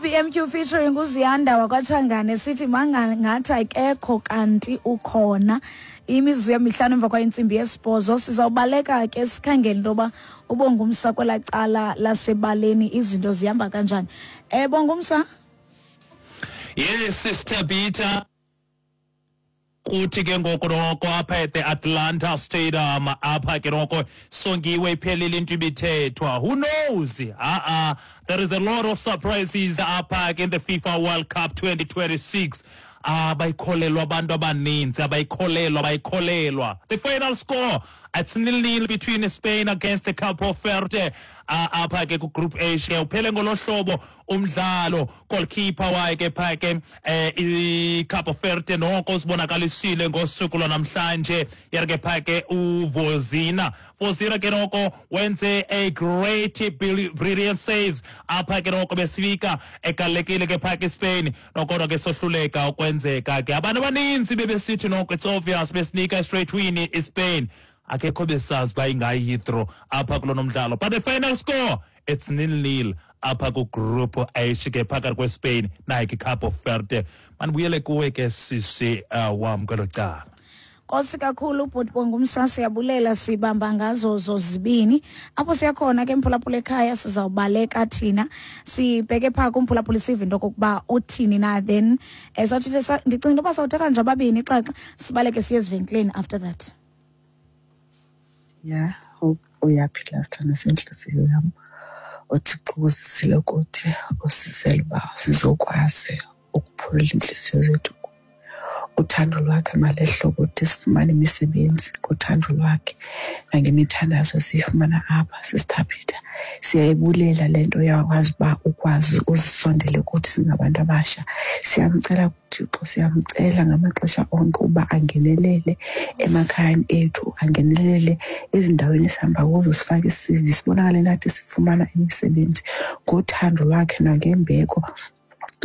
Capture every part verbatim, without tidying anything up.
I B M Q featuring uZiyanda wakwaTshangane, sithi mangathi akekho kanti ukhona. Imizuzu yemihlanu emva kwentsimbi yesibhozo, sizawubaleka ke sikhangele into yoba uBongumsa kwelaa cala lasebaleni izinto zihamba kanjani. um Bongumsa? Yes, Sister Peter. Kuthi ke ngoku noko apha at the Atlanta Stadium, apha ke noko songiwe, iphelile into ibithethwa. Who knows? Uh-uh. There is a lot of surprises apha ke in the FIFA World Cup twenty twenty-six. Abayikholelwa abantu abaninzi, abayikholelwa, abayikholelwa. The final score, it's nil nil between Spain against the Capo Verde uh, apha ke ku-Group H ke. Uphele ngolo hlobo umdlalo. Goalkeeper waye ke pha ke eh iCapo Verde noko sibonakalisile ngosuku lwanamhlanje, yena ke pha ke uVozina. Vozina ke noko wenze a great brilliant saves apha ke noko, besifika egalekile ke pha ke Spain, nokodwa ke sohluleka ukwenzeka ke. Abantu abaninzi bebesithi noko it's obvious, besinika straight win iSpain. Akekho besazi uba ingayi-draw apha kulo nomdlalo, but the final score, it's nil nil apha ku-Group H ke phakathi kweSpain naye ke Capo Verde. Mandibuyele kuwe ke, sisi uh, wam, kwelo cala. Nkosi kakhulu, bhuti Bongumsa, siyabulela, sibamba ngazo zozibini. Apho siyakhona ke, mphulaphula ekhaya, sizawubaleka thina sibheke phaa kumphulaphula, sive into okokuba uthini na. Then um sawuthetha, ndicinga into yoba sawuthatha nje ababini ixaxa, sibaleke siye ezivenkileni after that. Ya, hope uyaphila, sithando sentliziyo yam. UThixo uzisile kuthi, usizele uba sizokwazi ukuphulula iintliziyo zethu. Uthando lwakhe malehlobo de sifumane imisebenzi ngothando lwakhe nangemithandazo esiyifumana apha. Sisithaphitha, siyayibulela le nto yakwazi uba ukwazi uzisondele kuthi singabantu abasha. Siyamcela kuThixo, siyamcela ngamaxesha onke uba angenelele emakhayeni ethu, angenelele ezindaweni esihamba kuzo, sifake i-C V, sibonakale nathi sifumana imisebenzi ngothando lwakhe nangembeko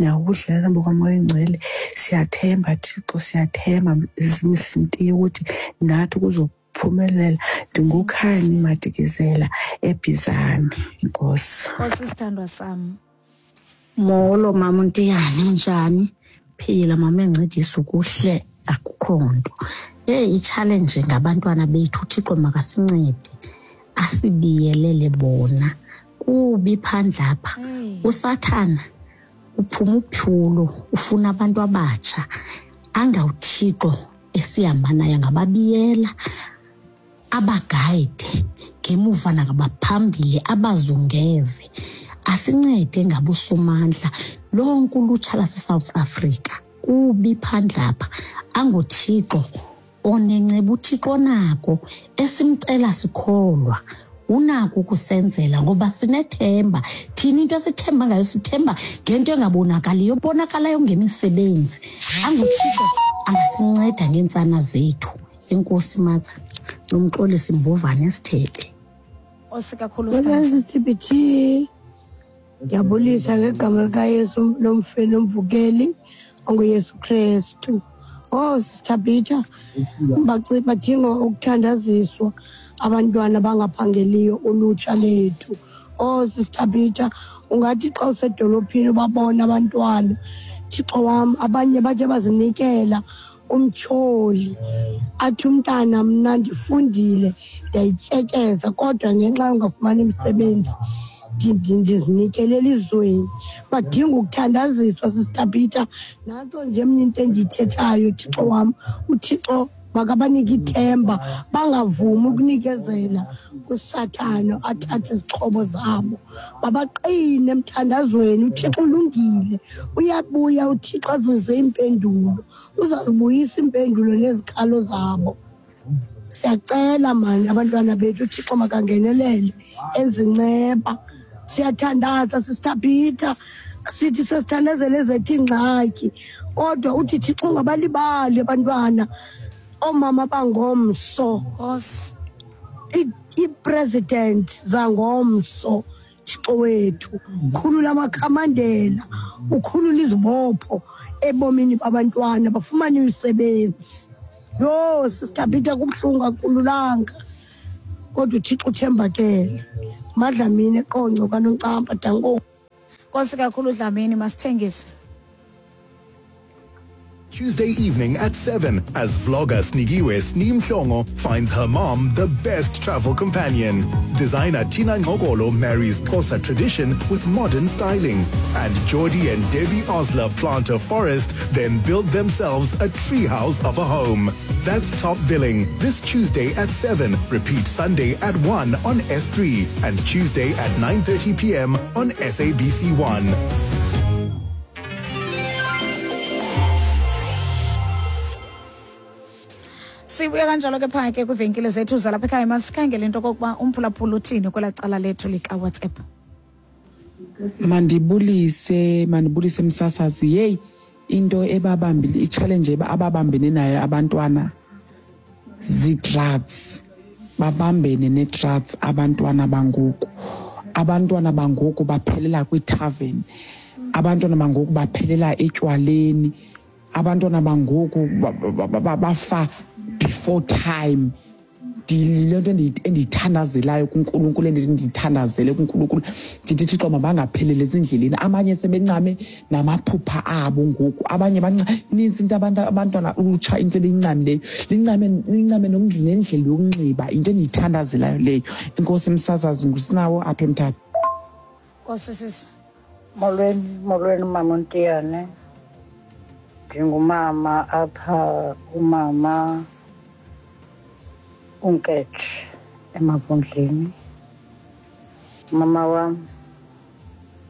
nangobudlelwane bukaMoya Oyingcwele. Siyathemba, Thixo, siyathemba Msintiye ukuthi nathi kuzophumelela. NdinguKhanyi Madikizela eBhizane. Inkosi. Nkosi, sithandwa sam. Molo, mama uNtiyane, unjani? Phila, mama encedisa ukuhle, akukho nto. Hey, i-challenge ngabantwana bethu. UThixo makasincede asibiyelele bona. Kubi phandle apha. Hey. USathana uphuma uphulo, ufuna abantu abatsha. AngawuThixo esihamba naye angababiyela, abagayide ngemuva nangabaphambili, abazungeze, asincede ngabosomandla lonke ulutsha lase-South Africa. Kubi phandle apha. AnguThixo onenceba, uThixo onako esimcela sikholwa, unako ukusenzela ngoba sinethemba thina. Into esithemba ngayo, sithemba ngento engabonakaliyo, bonakalayo ngemisebenzi. AnguThixo angasinceda ngeentsana zethu. Enkosi, mother. Nomxolisi Mbovane, Esithebe. Nkosi kakhulu, sithandwa sam. T B T, ndiyabulisa ngegama likaYesu lomfeli nomvukeli onguYesu Kristu. Oh, Sister Peter, badinga ukuthandaziswa abantwana abangaphangeliyo, ulutsha lethu. Oh, Sister Peter, ungathi xa usedolophini ubabona abantwana, Thixo wam, abanye bathe bazinikela umtyholi. Athi umntana, mna ndifundile, ndiyayityekeza, kodwa ngenxa yongafumani imisebenzi ndizinikele elizweni. Badinga ukuthandaziswa, Sister Peter. Nantso nje mna into endiyithethayo, Thixo wam, uThixo makabanike ithemba, bangavumi ukunikezela kuSathana athathe izixhobo zabo, babaqine emthandazweni. UThixo ulungile, uyabuya uThixo azise iimpendulo, uzazibuyisa iimpendulo nezikhalo zabo. Siyacela mani, abantwana bethu, uThixo makangenelele, enze inceba. Siyathandaza, Sister Peter, sithi sesithandazele ezethu iingxaki, kodwa uthi Thixo ungabalibali abantwana, oomama bangomso, Nkosi. ii-president zangomso. Thixo wethu, khulula amakhamandela, ukhulula izibopho ebomini babantwana, bafumane imisebenzi. Yho, Sister Peter, kubuhlungu, akululanga, kodwa uThixo uthembakele. Madlamini, eQonce, kwaNoncampa. Danko. Nkosi kakhulu Dlamini, masithengise. Tuesday evening at seven as vlogger Snigiwe Sneem finds her mom the best travel companion. Designer Tina Ngogolo marries Xhosa tradition with modern styling. And Jordi and Debbie Osler plant a forest, then build themselves a treehouse of a home. That's Top Billing this Tuesday at seven. Repeat Sunday at one on S three and Tuesday at nine thirty p m on S A B C one. Sibuya kanjalo ke phaya ke kwivenkile zethu zalapha ekhaya. Masikhangele into okokuba umphulaphula uthini kwelaa cala lethu likaWhatsApp. Mandibulise, mandibulise msasazi. Yeyi, into ebabambile, i-challenge ababambene nayo abantwana zii-drugs. Babambene nee-drugs abantwana bangoku. Abantwana bangoku baphelela kwii-tavern. Abantwana bangoku baphelela etywaleni. Abantwana bangoku bafa before time. Le nto endiyithandazelayo kuNkulunkulu, endithi ndiyithandazele kuNkulunkulu, ndithi Thixo mabangapheleli ezindleleni. Abanye sebencame namaphupha abo ngoku, abanye banintsi into abantu abantwana ulutsha into eliyincamileyo, lincame lincame nendlela yokunxiba. Into endiyithandazelayo leyo. Inkosi msasazi, ngusinawo apha eMthatha. Nkosi sisi. Molweni, molweni mama Ntiyane. Ndingumama apha, umama uNkethe eMavundleni. Mama wam,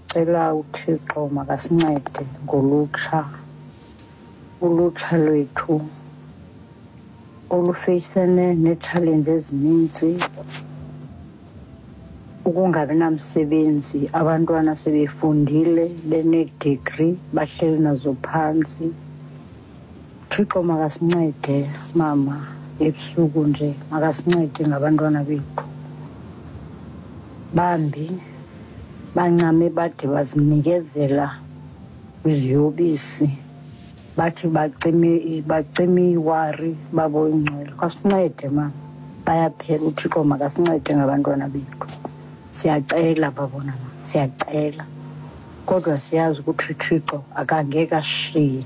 cela uThixo makasincede ngolutsha, ulutsha lwethu olufeyisene nee-challenge ezininzi, ukungabi namsebenzi, abantwana sebefundile benee-degree bahleli nazo phantsi. Thixo makasincede mama, ebusuku nje makasincede ngabantwana bethu. Bambi bancame bade bazinikezela kwiziyobisi, bathi bacime bacime iwari babo ingcwele. Kasincede mama, bayaphela. uThixo makasincede ngabantwana bethu. Siyacela babona mama, siyacela, kodwa siyazi ukuthi uThixo akangeke asishiye,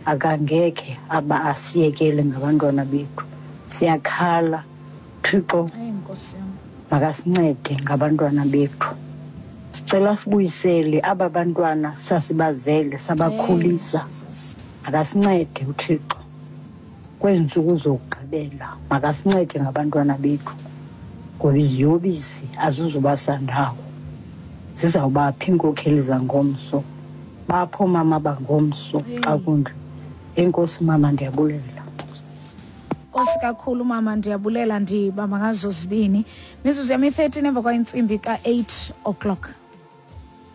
akangeke aba asiyekele ngabantwana bethu. Siyakhala, Thixo makasincede ngabantwana bethu. Sicela sibuyisele aba bantwana sasibazele sabakhulisa. Makasincede uThixo kwezi ntsuku zokugqibela, makasincede ngabantwana bethu, ngoba iziyobisi azizuba sandawo, zizawubaphi iinkokheli zangomso, bapho mama bangomso xa kunje. Enkosi mama, ndiyabulela. Nkosi kakhulu mama, ndiyabulela. Ndibamba ngazo zibini. Mizuzu yami thirteen emva kwentsimbi ka eight o'clock.